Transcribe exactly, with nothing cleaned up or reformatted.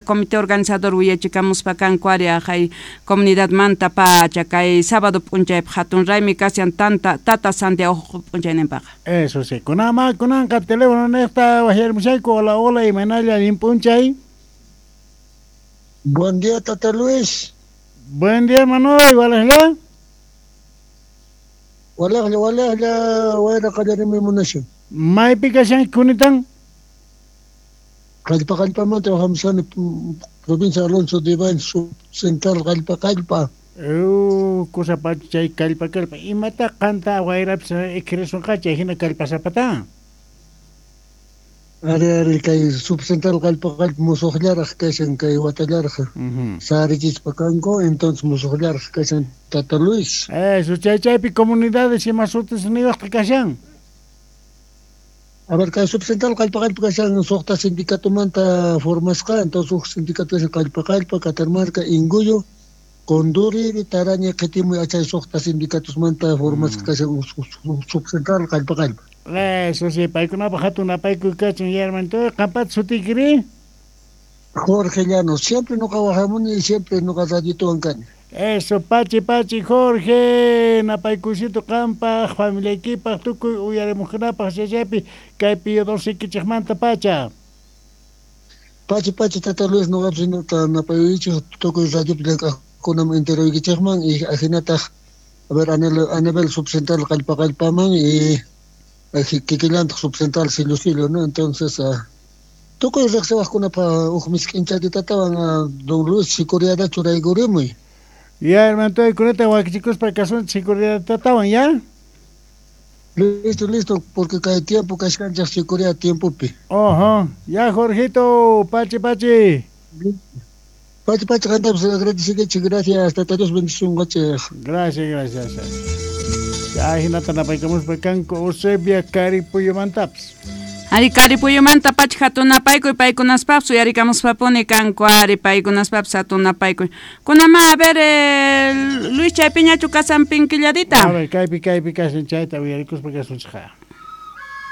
Comité organizador willachikamuspa kanku ari ajay comunidad manta pacha kay sábado p'unchaypaq hatun raymi kashan tanta tata Santiago p'unchayninpaqa. Eso sí, kunama kunanqa teléfono niqta wajyarimushayku. Hola, hola, imaynalla allin p'unchay. Buen día, Tata Luis. Buen día, hermano, walajlla. Walajlla, walajlla, wayra qallarimi munashan. Maypi kashanki kunitan? Qallpa qallpamanta hamusani, provincia Alonso de Ibáñez, subcentral Qallpa Qallpa. Uh, kusa pacha chay kallpa kallpa. Imata qanta wayrapis ikrisunqa chay hina kallpasapata? Ari, ari, kay subcentral Qallpa Qallpa musuqllaraq kashan kay watallaraq. Uh-huh. Sarichispa kanku, entonces musuqllaraq kashan Tata Luis. Eso, chay chaypi comunidades ima sutis niwaqta kashan. A ver, kay subcentral Qallpa Qallpa kashan suqta sindicatomanta formasqa, entonces huk sindicato kashan Qallpa Qallpa, Catarmarca, Inguyo, Conduriri, Taraña, Qitimuy, achay suqta sindicatosmanta formasqa kashan subcentral Qallpa Qallpa. Eso sí, paykunapaq hatun apaykuy kachun yarmanto, qampat sutiykiri? Jorge Llanos, siempre nuqa wajamuni y siempre nuqa radiotuwan kani. Eso, pachi pachi Jorge, napaykuysito qampaq, familiaykipaq, tukuy uyarimuqkunapaq chaychaypi kay Pío doce kichikmanta pacha. Pachi pachi Tata Luis, nuqapis nuqa napayuychik tukuy radiopi llank'aqkunaman enteruykichikman y ajinataq, a ver, a nivel, a nivel subcentral Qallpa Qallpaman y kikillantaq subcentral Sillo Sillo, ¿no? Entonces, uh, tukuy riqsiwaqkunapaq huk misk'inchatitatawan uh, don Luis sicuriada churaykurimuy. Ya, hermano, kunata wakichikuspa kasun sicuriadatawan, ya? Listo, listo, porque kay tiempo kashkanchik sicuria tiempopi. Ojo, ya Jorgito, pachi pachi. Pachi pachi, qantapis agradecikichik, gracias, Tata Dios bendicionqachik. Gracias, gracias. Ya hinata napaykamuspa kanku Eusebia Karipuyumantapis. Ari Karipuyumanta pacha hatun napaykuy paykunaspapis uyarikamuspapuni kanku ari paykunaspapis hatun napaykuy. Kunama, a ver, eh, Luis chaypiñachu kasan pinkilladita. A ver, kaypi kaypi kashan chayta uyarikuspa kasunchikqa.